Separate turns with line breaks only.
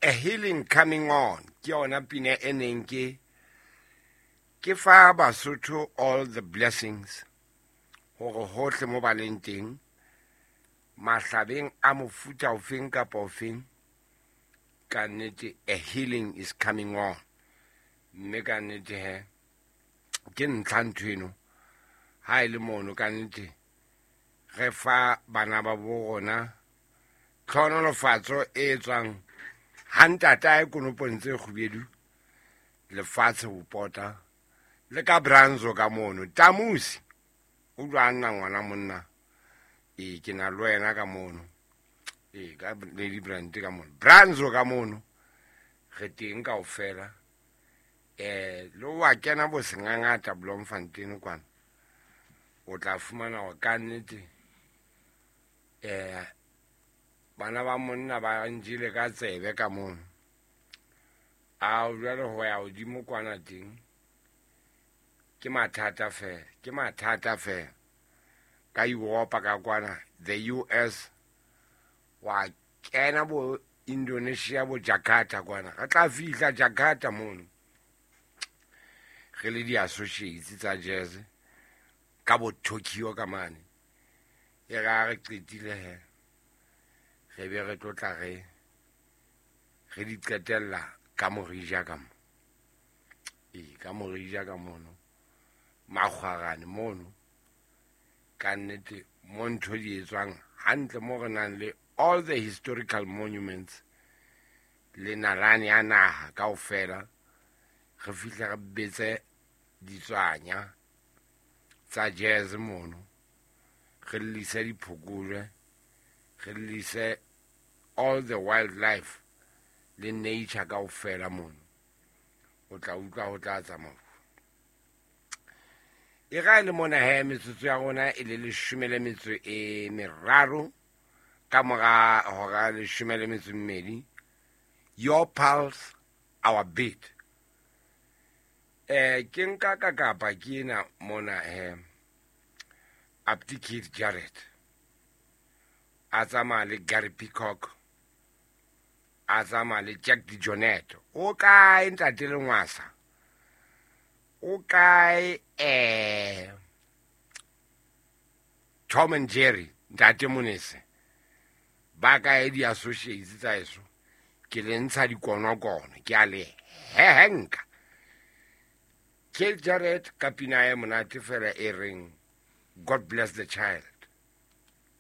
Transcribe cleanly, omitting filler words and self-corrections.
A Healing Coming On ke yona pina e neng ke fa Basotho all the blessings hore hohle mo ba leng teng, mahlabeng a mofuta ofeng kapa ofeng, ka nnete a healing is coming on. Mme ka nnete he ke ntlha ntho eno ha e le mono, ka nnete re fa bana ba bo rona tlhonolofatso e tswang ha ntatae konopong tse kgubedu lefatshe ho pota le ka Branzo ka mono. Tamusi o jwa nna ngwana monna, ee, ke na le wena ka mono, ee, ka Lady Brand ka mono, Branzo ka mono, re teng kaofela. Le wa kena bo sengangata Bloemfontein kwana, o tla fumana hore ka nnete bana ba monna ba njele ka tsebe ka mono. A jwale ho ya hodimo kwana teng ke mathata fela, ke mathata fela. Ka Europa ka kwana, the US, wa kena bo Indonesia, bo Jakarta kwana, re tla fihla Jakarta mono re le di-associates tsa jazz, ka bo Tokyo ka mane. E ra re qetile he, re be re tlotla re di qetella ka Morija ka mo, ee, ka Morija ka mono, Makgwarane mono. Ka nnete mo ntho di etswang hantle, mo re nang le all the historical monuments le nalane ya naha kaofela. Re fihle re betse ditswanya tsa jazz mono, re llise diphokojwe, re llise all the wildlife le nature kaofela mono. O tla utlwa ho tla tsamaya e ga e le mona he. Metsotso ya rona e le 13 ka mora hora 12. Your pulse, our beat. Ke nka ka kapa ke ena mona he, Apti Keith Jarrett a tsamaya le Gary Peacock, a tsamaya le Jack DeJohnette. O kae ntate Lengwasa? O kae Tom and Jerry, ntate Monese? Ba kae di-associates tsa eso? Ke le ntsha dikonokono, ke a le hehenka. Keith Jarrett ka pina e monate fela e reng God Bless the Child.